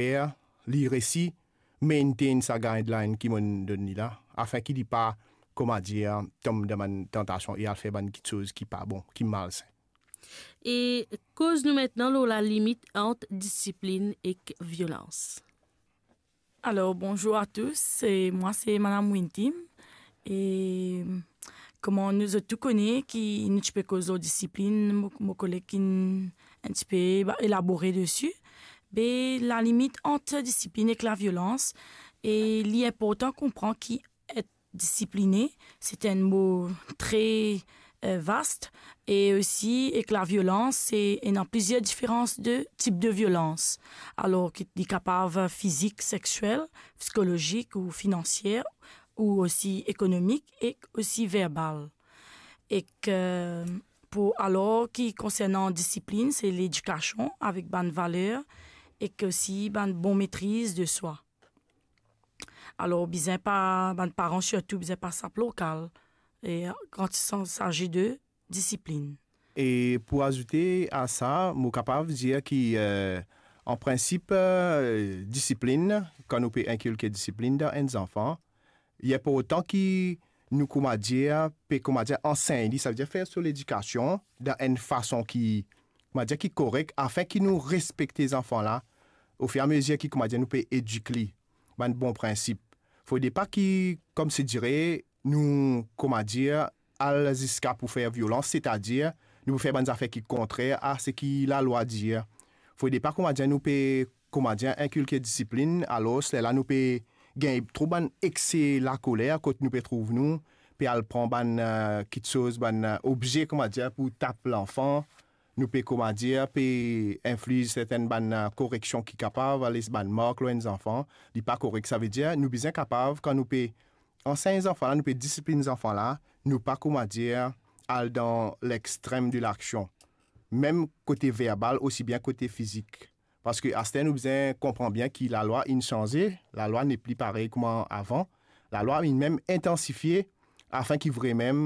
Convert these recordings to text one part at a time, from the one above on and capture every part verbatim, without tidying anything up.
fer li resi maintain sa guideline ki mo'nn donn li la, afin ki li pa, kouma dir, tom dan bann tantasion e al fer bann kiksoz ki pa bon, ki malsin. E koz nou aster lor lalimit ant disiplinn ek violans. Alors, bonjour à tous. Et moi, c'est Madame Wintim. Et comment nous tous connaît, qui nous pe koz lor disiplinn, mon, mon collègue qui un petit peu élaboré dessus. Mais la limite entre discipline et la violence, et il est important qu'on comprend qui est discipliné, c'est un mot très euh, vaste. Et aussi, avec la violence, c'est, il y a plusieurs différences de types de violence. Alors, qui est capable physique, sexuelle, psychologique ou financière, ou aussi économique et aussi verbale. Et que, pour, alors, qui concernant discipline, c'est l'éducation avec bonne valeur et que aussi bonne, bonne maîtrise de soi. Alors, bizin pa, bann paran sirtou bizin pa sap lor kal, e kan il s'agit de discipline. E pou azoute a sa, mo kapav dir ki, euh, an prinsip, euh, disiplinn, kan nou pe inkilke disiplinn dan enn zanfan, li inportan ki nou, kouma dir, pe, kouma dir, ansegn li, savedir fer so ledikasion dan enn fason ki, kouma dir, ki korek, afin ki nou respekte zanfan la, ofiramezir ki, kouma dir, nou pe edik li bann bon prinsip. Fode pa ki, kouma dir, nou, kouma dir, al ziska pou fer violans, setadir nou pou fer bann zafer ki kontrer a seki lalwa dir. Fode pa, kouma dir, nou pe, kouma dir, inkilke disiplinn, alor lerla nou pe gagn tro bann ekse lakoler kot nou pe trouv nou, pe al pran bann, euh, kiksoz, bann, euh, obze, kouma dir, pou tap lanfan, nou pe, kouma dir, pe infliz sertenn bann, euh, koreksion ki kapav les bann mark lor enn zanfan, li pa korek. Savedir, nou bizin kapav, kan nou pe ansegn zanfan la, nou pe disiplinn zanfan la, nou pa, kouma dir, al dan lextrem de laksion. Mem kote verbal, osi bien kote fizik. Parski aster nou bizin konpran bien ki lalwa inn sanze, lalwa nepli parey kouma avan, lalwa inn mem intansifie, afin ki vremem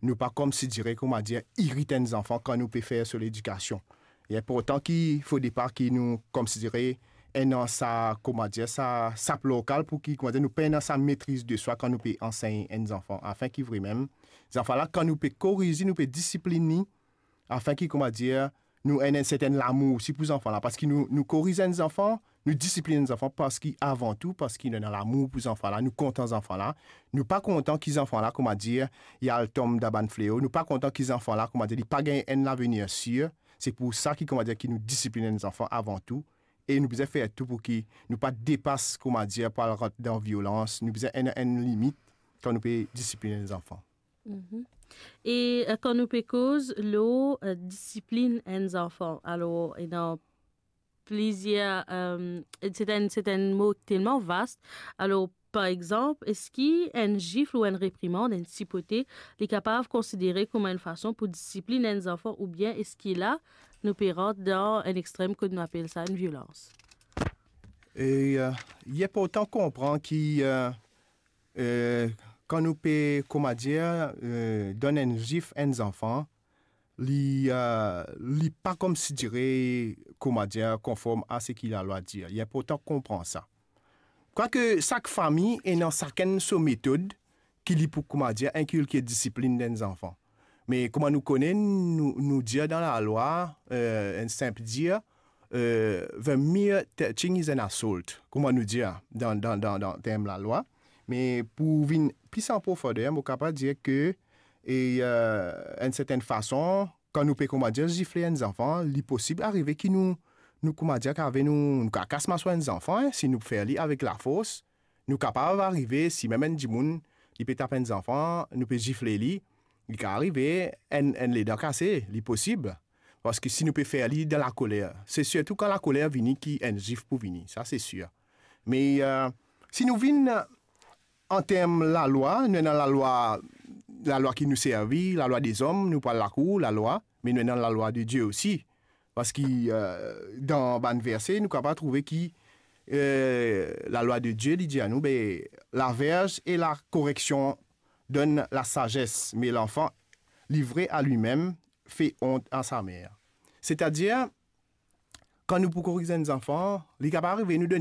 nou pa, kouma dir, kouma dir, irit enn zanfan kan nou pe fer so ledikasion. Li inportan ki, fode pa ki nou, kouma dir, ena sa, kouma dir, sa, sa lokal pou ki, kouma dir, nou pe ena sa metriz de swa kan nou pe ansegn enn zanfan, afin ki vremem, zanfan la, kan nou pe koriz li, nou pe disiplinn li, afin ki, kouma dir, nou ena enn sertenn lamour osi pou zanfan la, parski nou, nou koriz enn zanfan, nou disiplinn enn zanfan, parski avan tou, parski nou ena lamour pou zanfan la, nou kontan zanfan la, nou pa kontan ki zanfan la, kouma dir, li al tom dan bann fleo, nou pa kontan ki zanfan la, kouma dir, li pa gagn enn lavenir sir. Se pou sa ki, kouma dir, ki nou disiplinn enn zanfan avan tou, e nou bizin fer tou pou ki nou pa depas, kouma dir, pou al rant dan violans, nou bizin ena enn limit kan nou pe disiplinn enn zanfan. Mhm. E, euh, kan nou pe koz lor, euh, disiplinn enn zanfan, alor, ena plizier, euh, se enn, se enn mo telman vast. Alor, par exanp, eski enn zifl ou enn reprimand, enn sipote, li kapav konsidere kouma enn fason pou disiplinn enn zanfan, oubien eski la, nou pe rant dan enn extrem kot nou apel sa enn violans? E, euh, li inportan konpran ki, euh, euh, kan nou pe, kouma dir, euh, donn enn zif enn zanfan, li, euh, li pa, kouma dir, kouma dir, konform a seki lalwa dir. Li inportan konpran sa. Kwake sak fami ena sakenn so metod ki li pou, kouma dir, inkilke disiplinn dan enn zanfan. Me kouma nou kone, nou, nou dir dan lalwa, euh, enn sinp dir, euh, the mere touching is an assault, kouma nou dir dan, dan, dan, dan term lalwa. Me pou vinn plis an profonder, mo kapav dir ke, e, euh, enn sertenn fason, kan nou pe, kouma dir, zifle enn zanfan, li posib arive ki nou, nou, kouma dir, kave nou, nou kakas maso enn zanfan, en, si nou fer li avek lafors, nou kapav arive, si mem enn dimoun, li pe tap enn zanfan, nou pe zifle li, li kapav arive enn, enn ledan kase, li posib. Parski si nou pe fer li dan lakoler, se sirtou kan lakoler vini ki enn zif pou vini, sa se sir. Me, euh, si nou vinn an term lalwa, nou ena lalwa, lalwa ki nou servi, lalwa dezom, nou pou al lakour, lalwa, me nou ena lalwa de Die osi. Parski, euh, dan bann verse, nou kapav trouve ki, euh, lalwa de Die, li dir anou, be, la verge et la correction donnent la sagesse, mais l'enfant livré à lui-même fait honte à sa mère. Setadir, kan nou pou koriz enn zanfan, li kapav arive nou donn